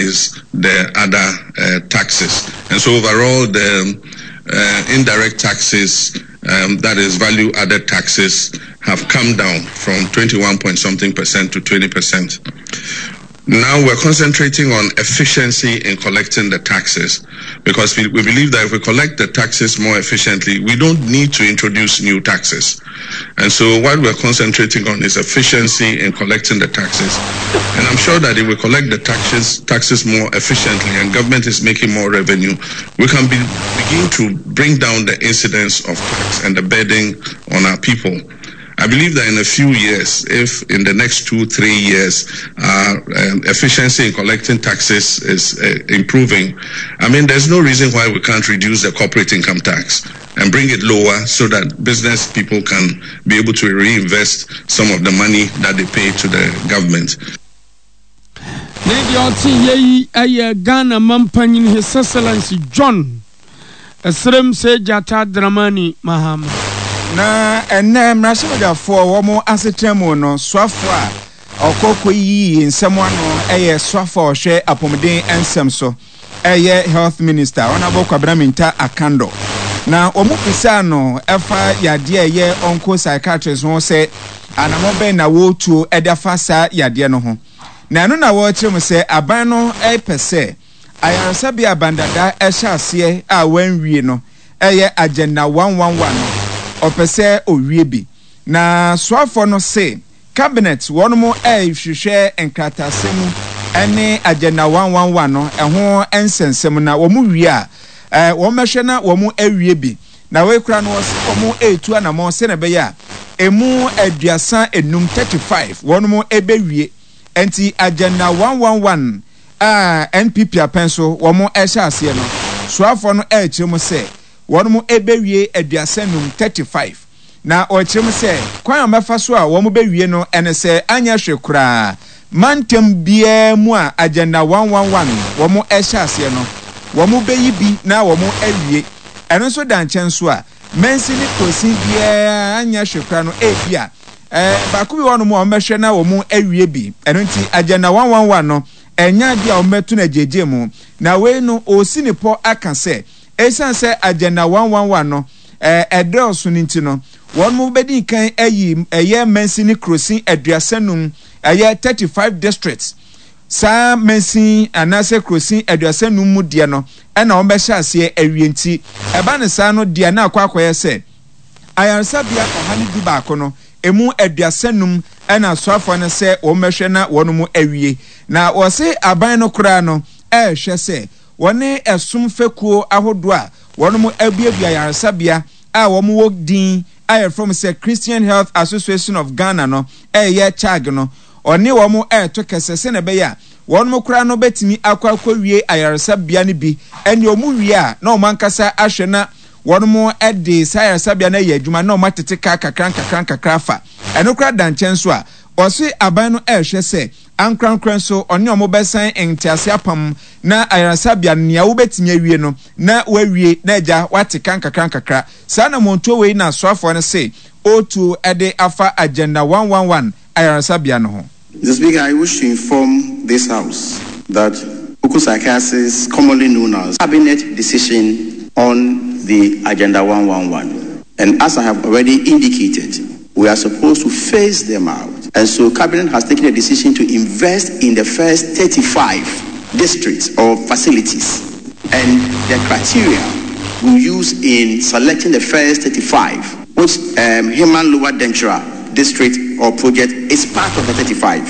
the other uh, taxes. And so overall, the uh, indirect taxes, um, that is value added taxes, have come down from 21 point something percent to 20 percent. Now we're concentrating on efficiency in collecting the taxes because we, we believe that if we collect the taxes more efficiently, we don't need to introduce new taxes. And so what we're concentrating on is efficiency in collecting the taxes. And I'm sure that if we collect the taxes, taxes more efficiently and government is making more revenue, we can be, begin to bring down the incidence of tax and the burden on our people. I believe that in a few years, if in the next two, three years, uh, um, efficiency in collecting taxes is uh, improving, I mean, there's no reason why we can't reduce the corporate income tax and bring it lower so that business people can be able to reinvest some of the money that they pay to the government. Ne deɛ ɔte yɛ yi yɛ Ghana mampanyin His Excellency John Ɛserem Sɛ Gyata Dramani Mahama. Na ɛnnɛ mmarahyɛbadwafoɔ wɔn asetena mu no, soafoɔ a ɔkɔ kɔyiyi nsɛm ano yɛ soafoɔ a ɔhwɛ apɔmuden nsɛm so. ɛyɛ Health Minister, Honourable Kwabena Mintah Akandoh, na wɔn bisaa no ɛfa yadeɛ a ɛyɛ onco-psychiatrist ho sɛ anamɔ bɛn na wɔretuo ɛde afa saa yadeɛ no ho. Na ɛno na wɔrekyerɛ mu sɛ aban no ɛpɛ sɛ ayaresabea a Bandada ɛhyɛ aseɛ a wɔanwie no ɛyɛ Agenda 111 no ɔpɛ sɛ ɔwie bi. Na soafoɔ no se Cabinet wɔnom rehwehwɛ nkrataasɛm mu ne Agenda 111 no ɛho nsɛnsɛm na wɔn wie a wɔn bɛhwɛ na wɔn awie bi. Na wei koraa no wɔse wɔn retu anamɔn sɛnea ɛbɛyɛ a ɛmu aduasa enum, 35, wɔnom bɛwie. Ɛnti Agenda 111 a NPP apɛn so wɔn rehyɛ aseɛ no, soafoɔ no rekyerɛ mu sɛ wɔnom bɛwie aduasa num, 35. Na ɔkyerɛ mu sɛ kwan a wɔbɛfa so a wɔbɛwie no ne sɛ anyɛ hwee koraa mantam biara mu a Agenda 111 wɔhyɛ aseɛ no, wɔbɛyi bi na wɔawie. Ɛno nso da nkyɛn nso a, mansin ne kurosin biara anyɛ hwee koraa no ebia baako bi wɔ hɔnom a wɔbɛhwɛ na wɔawie bi. Ɛno nti Agenda 111 no ɛnyɛ adeɛ a wɔbɛto no agyeegyee mu. Na wei no ɔresi ne pɔ aka sɛ Esiane sɛ Agenda 111 no ɛdɔɔso no nti no, wɔn bɛdi kan ayi ɛyɛ mansin ne kurosin aduasa num, ɛyɛ 35 districts. Saa mansin anaasɛ kurosin aduasa num mu deɛ no ɛna wɔn bɛhyɛ aseɛ awie nti ɛba no saa no deɛ na akɔ akɔyɛ sɛ ayaresabea 111 no emu 35 ɛna asoafoɔ no sɛ wɔn bɛhwɛ na wɔn awie. Na wɔse aban no koraa no ɛrehwɛ sɛ Wɔne ɛsom fekuo ahodoɔ a wɔnom abuebue ayaresabea a wɔn wɔ din a yɛfrɛ wɔn sɛ Christian Health Association of Ghana no reyɛ CHAG no, ɔne wɔn reto kɛsɛ sɛdeɛ ɛbɛyɛ a wɔnom koraa no bɛtumi akɔ akɔwie ayaresabea no bi, ɛnneɛ wɔn wie a na wɔn ankasa ahwɛ na wɔnom de saa ayaresabea no ayɛ adwuma na wɔn atete ka kakra nkakra nkakra afa. Ɛno koraa da nkyɛn nso a, ɔse aban no rehwɛ sɛ Ankorankoro nso, ɔne wɔn bɛsan ntease apam, na ayaresabea no, nea wobetumi awie no, na wɔawie, na agya, woate ka nkakrankakra. Saa anammɔntuo wei na soafoɔ no se ɔretuo de afa Agenda 111 ayaresabea no ho. Mr. Speaker, I wish to inform this House that Oku commonly known as Cabinet decision on the Agenda 111. And as I have already indicated, we are supposed to phase them out. And so Cabinet has taken a decision to invest in the first 35 districts or facilities. And the criteria we use in selecting the first 35, which um, Human Lower Dentura district or project is part of the 35.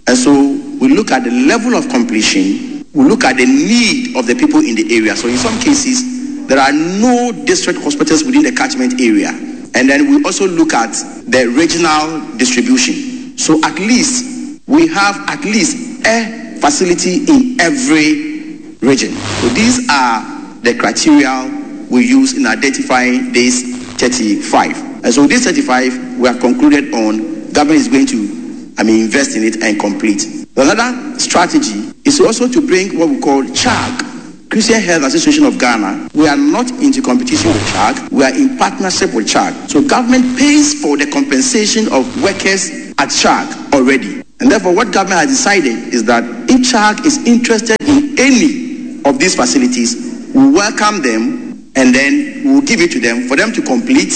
And so we look at the level of completion, we look at the need of the people in the area. So in some cases, there are no district hospitals within the catchment area. And then we also look at the regional distribution. So at least we have at least a facility in every region. So these are the criteria we use in identifying these 35. And so these 35, we have concluded on government is going to, I mean, invest in it and complete. Another strategy is also to bring what we call CHAG, Christian Health Association of Ghana. We are not into competition with CHAG. We are in partnership with CHAG. So government pays for the compensation of workers at CHAG already. And therefore, what government has decided is that if CHAG is interested in any of these facilities, we welcome them and then we'll give it to them for them to complete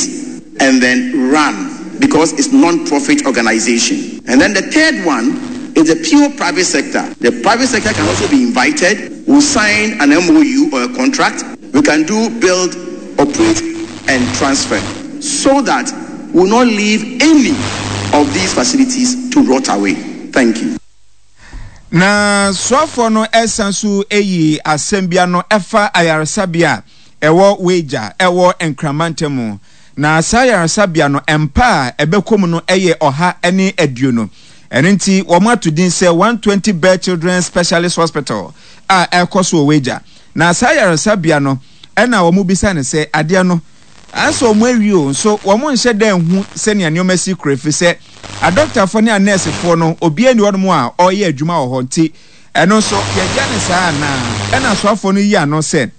and then run because it's non-profit organization. And then the third one is the pure private sector. The private sector can also be invited. We'll sign an MOU or a contract. We can do build, operate, and transfer so that we'll not leave any of these facilities to rot away. Thank you. Na soafoɔ no san so yii asɛm bi ano ɛfa ayaresabea a ɛwɔ Weija ɛwɔ Nkran mantam mu. Na saa ayaresabea no mpa a ɛbɛkɔ mu no yɛ 120. Ɛno nti wɔato din sɛ 120 Bed Children's Specialist Hospital a ɛrekɔ so wɔ Weija. Na saa ayaresabea no ɛna wɔbisa no sɛ adeɛ no Ansa wɔn awie o, nso wɔn nhyɛ da nhu sɛnea nneɛma si kɔ efisɛ adɔktafoɔ ne anɛɛsefoɔ no obiara nni hɔnom a ɔreyɛ adwuma wɔ hɔ nti ɛno nso yɛgya no saa anaa? Ɛna asoafoɔ no yi ano sɛ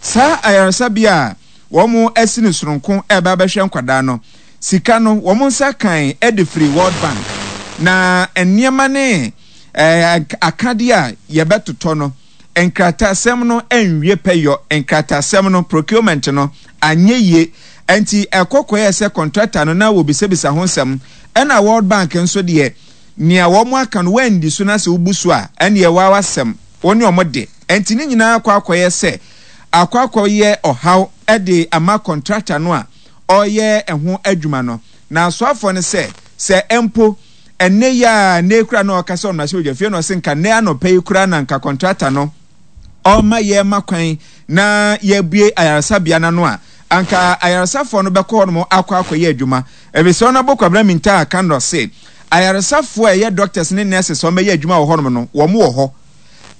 saa ayaresabea a wɔn asi no sononko reba abɛhwɛ nkwadaa no sika no wɔn nsa kan de firi World Bank na nneɛma ne akadeɛ a yɛbɛtotɔ no Nkrataasɛm no anwie pɛyɔ, nkrataasɛm no, procurement no, anyɛ yie, ɛnti ɛkɔ kɔyɛɛ sɛ contractor no na wɔbisabisa ho nsɛm, ɛna World Bank nso deɛ nea wɔn aka no woandi so na sɛ wobu so a ɛnneɛ waa w'asɛm, wo ne wɔn de, ɛnti ne nyinaa akɔ akɔyɛ sɛ akɔ akɔyɛ ɔhaw de ama contractor no a ɔreyɛ ɛho adwuma no. Na asoafoɔ no sɛ, sɛ mpo. Ɛnnɛ yi ara, nnɛ yi koraa na ɔka sɛ ɔmmarahyɛbadwafie na ɔse nka nnɛ anɔpa yi koraa na nka kɔntrata no ɔrema yɛrema kwan na yɛabue ayaresabea no ano a, anka ayaresafoɔ no bɛkɔ hɔnom akɔ akɔyɛ adwuma. Ɛfiri sɛ Honourable Kwabena Mintah Akandoh se ayaresafoɔ a ɛyɛ doctors ne nurses a wɔbɛyɛ adwuma wɔ hɔnom no, wɔn wɔ hɔ.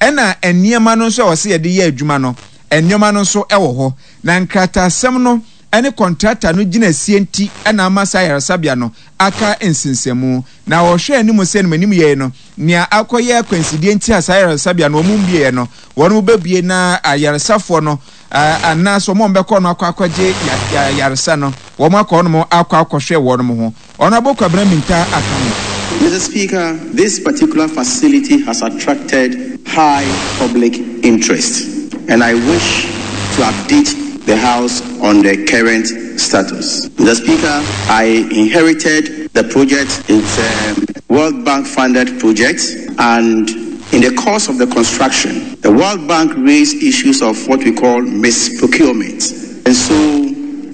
Ɛna nneɛma no nso a wɔse yɛde yɛ adwuma no, nneɛma no nso wɔ hɔ. Na nkrataasɛm no ne kɔntrata no gyinasie nti na ama saa ayaresabea no aka nsensɛnmu. Na wɔhwɛ anim sɛ animanim yei no, nea akɔyɛ akwansideɛ nti a saa ayaresabea no wɔn mmueɛ no, wɔn bɛbue na ayaresafoɔ no anaasɛ wɔn a wɔbɛkɔ no akɔ akɔgye ayaresa no, wɔn akɔ hɔnom akɔ akɔhwɛ wɔn ho. Honourable Kwabena Mintah Akandoh. Mr Speaker, this particular facility has attracted high public interest and I wish to update the House on the current status. Mr Speaker, I inherited the project. It's a World Bank funded project and in the course of the construction, the World Bank raised issues of what we call misprocurement. And so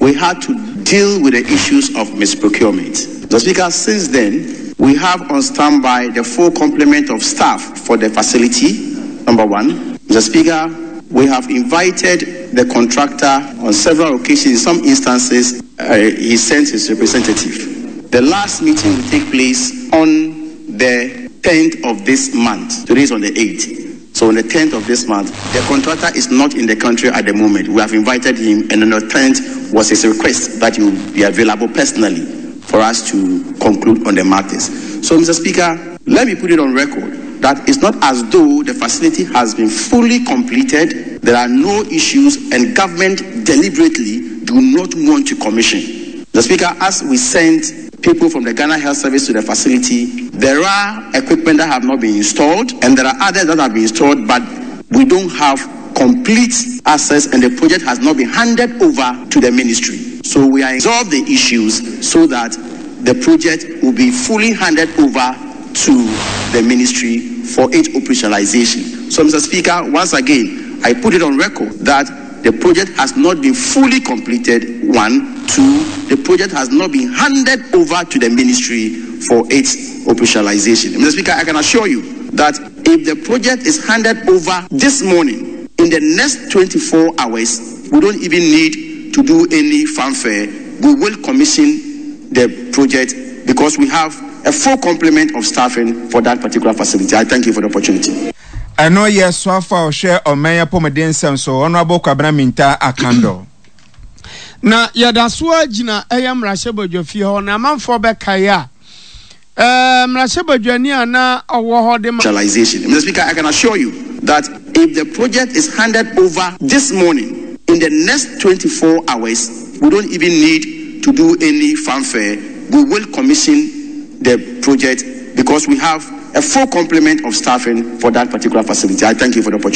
we had to deal with the issues of misprocurement. The Speaker, since then, we have on standby the full complement of staff for the facility, number one. Mr. Speaker, we have invited the contractor on several occasions. In some instances, uh, he sent his representative. The last meeting will take place on the 10th of this month. Today is on the 8th. So on the 10th of this month, the contractor is not in the country at the moment. We have invited him, and on the 10th was his request that he will be available personally for us to conclude on the matters. So, Mr. Speaker, let me put it on record that it's not as though the facility has been fully completed, there are no issues, and government deliberately do not want to commission. The Speaker, as we sent people from the Ghana Health Service to the facility, there are equipment that have not been installed, and there are others that have been installed, but we don't have complete access and the project has not been handed over to the ministry. So we are resolve the issues so that the project will be fully handed over to the ministry for its operationalization. So, Mr. Speaker, once again, I put it on record that the project has not been fully completed. One, two, the project has not been handed over to the ministry for its operationalization. Mr. Speaker, I can assure you that if the project is handed over this morning, in the next 24 hours, we don't even need to do any fanfare. We will commission the project because we have a full complement of staffing for that particular facility. I thank you for the opportunity. Ɛno yɛ soafo a ɔhwɛ ɔman apɔmuden nsɛm so, Honourable Kwabena Mintah Akandoh. Na yɛda so ara gyina ɛyɛ mmarahyɛbadwafie hɔ na amanfoɔ bɛkae a, ɛɛ mmarahyɛbadwani a na ɔwɔ hɔ de ma. Actualization. Mr. Speaker, I can assure you that if the project is handed over this morning, in the next 24 hours, we don't even need to do any fanfare. We will commission the project because we have a a full complement of staffing for that particular facility. I thank you for the opportunity.